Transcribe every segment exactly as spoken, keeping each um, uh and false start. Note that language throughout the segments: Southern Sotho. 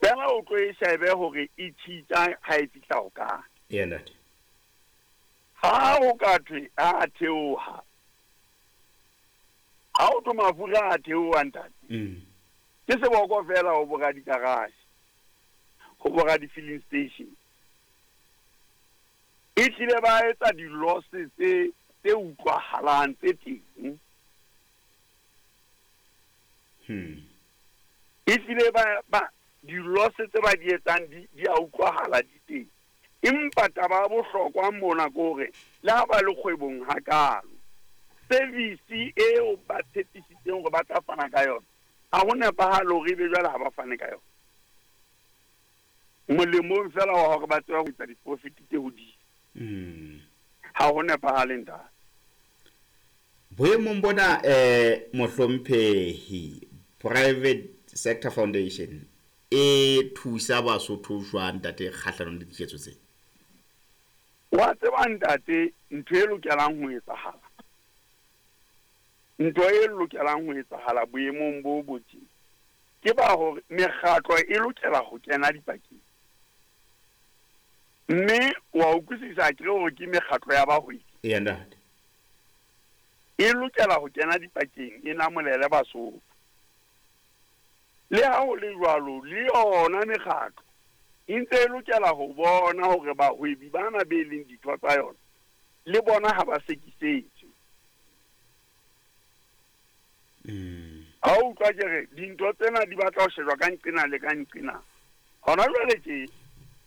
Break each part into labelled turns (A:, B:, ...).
A: Fela o tlo e shebe hore e tjhitja ha e fihla ho kae.
B: Eya ntate.
A: Ha o ka thwe a theoha, ha o thwe mafura a theoha ntate,
B: Mm.
A: ke seboko fela ho bora di-garage, ho bora di-filling station. E hlile ba etsa di-losses tse, tse utlwahalang tse teng.
B: Hmm.
A: E hlile ba, ba di-losses tse ba di etsang di, di a utlwahala di teng. Empa taba ya bohlokwa mona ke hore le ha ba le kgwebong hakalo, service eo ba tshepisitseng hore ba tla fana ka yona, ha ho nepahale hore ebe jwale ha ba fane ka yona. Molemong fela wa hore ba tsebe ho etsa di-profit tse hodimo.
B: Mm.
A: Ha ho nepahale ntate.
B: Boemong bona, eh, mohlomphehi, Private Sector Foundation e thusa Basotho jwang ntate kgahlanong le diketso tse?
A: Wa tseba ntate, ntho e lokelang ho etsahala, ntho e lokelang ho etsahala boemong bo bo tje, ke ba hore mekgatlo e lokela ho kena dipakeng. Mme wa utlwisisa akere hore ke mekgatlo ya bahwebi.
B: Eya ntate.
A: E lokela ho kena dipakeng, e namolele Basotho. Le ha ho le jwalo, le yona mekgatlo e ntse e lokela ho bona hore bahwebi bana be leng ditho tsa yona le bona ha ba sekisetswe.
B: Mm.
A: Ha o utlwa ke re dintho tsena di batla ho shejwa ka nqena le ka nqena. Hona jwale tje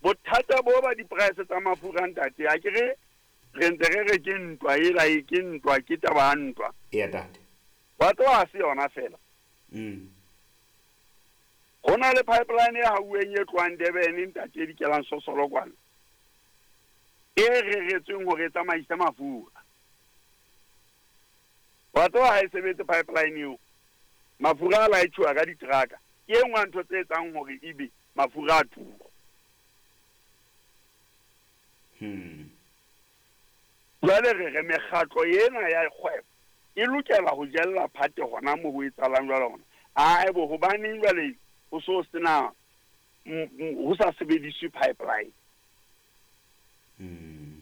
A: bothata bo ba di-price tsa mafura ntate, ha ke re re ntse re re ke ntwa ela, e ke ntwa, ke taba ya ntwa.
B: Eya ntate.
A: Wa tseba ha se yona fela.
B: Mm.
A: Ho na le pipeline e hauweng e tlohang Durban ntate e dikelang Sosolo kwana, e reretsweng hore e tsamaise mafura. Wa tseba ha e sebetse pipeline eo, mafura a laetjhuwa ka diteraka. Ke e nngwe ya ntho tse etsang hore ebe mafura a tura.
B: Hmm.
A: Jwale re re mekgatlo ena ya kgwebo e lokela ho jella phate hona moo ho etsahalang jwale hona. Ae bo, hobaneng jwale ho so sena, m-, m-, ho sa sebediswe pipeline?
B: Hmm.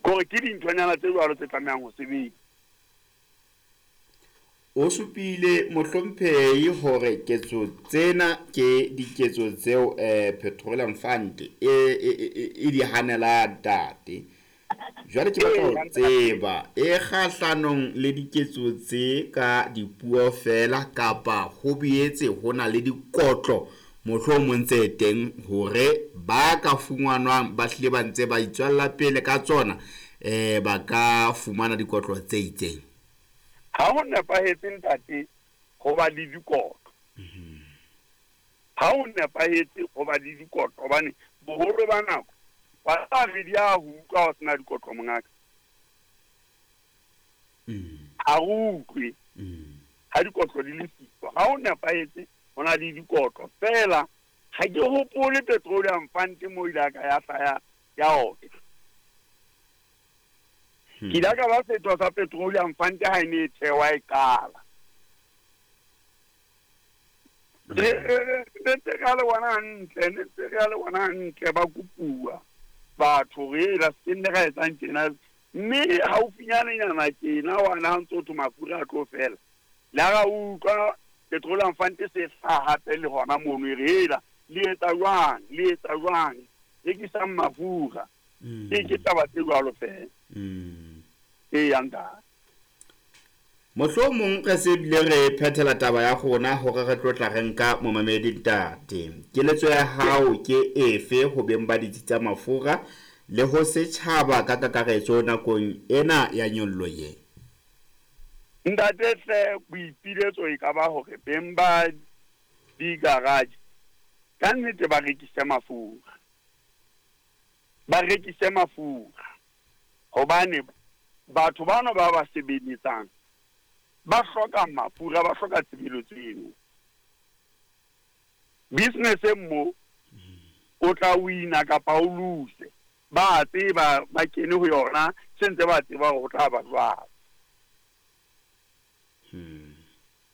A: Kore ke dinthonyana tse jwalo tse tlamehang ho sebetsa.
B: O supile mohlomphehi hore ketso tsena ke diketso tseo, eh, Petroleum Fund e, e, e, e di hanela ntate. Jwale ke batla ho tseba e kgahlanong le diketso tse ka dipuo fela kapa ho boetse ho na le dikotlo mohlomong tse teng hore ba ka fumanwang ba hlile ba ntse ba itswella pele ka tsona, eh, ba ka fumana dikotlo tse itseng.
A: Ha ho nepahetse ntate ho ba le dikotlo.
B: Mhm.
A: Ha ho nepahetse ho ba le dikotlo hobane boholo ba nako ba tla re di a ho utlwa ho sena dikotlo mongaka.
B: Mm.
A: Ha re utlwe.
B: Mm.
A: Ha dikotlo di le siko. Ha ho nepahetse ho na le dikotlo. Feela ha ke hopole Petroleum Fund mo ile ka ya hlaya ya otla.
B: Hmm.
A: Ke ile ka ba setho sa Petroleum Fund ha e ne e thewa e qala. Re, re, re, re ntse re a le bona hantle, ne ntse re a le bona hantle ba kopuwa batho re ela se nne ra etsang tjena. Mme haufinyanenyana tjena wa na ha ntso thwe mafura a tlo fela. Le ha ra utlwa Petroleum Fund se hlaha hape le hona mono e re ela le etsa jwang, le etsa jwang, rekisang mafura.
B: Mm.
A: Ke, ke taba tse jwalo fela.
B: Mm.
A: E yang ntate.
B: Mohlomong re se bile re phethela taba ya rona hore re tlo tla re nka momamedi ntate. Keletso ya hao ke efe ho beng ba ditsi tsa mafura le ho setjhaba ka kakaretso nakong ena ya nyollo ye?
A: Ntate hle, boipiletso e ka ba hore beng ba di-garage ka nnete ba rekise mafura. Ba rekise mafura hobane batho bano ba ba sebeletsang ba hloka mafura, ba hloka tshebeletso eno. Business e mo o tla wina kapa o lose, ba tseba ba kene ho yona, se ntse ba tseba hore ho tla ba jwalo.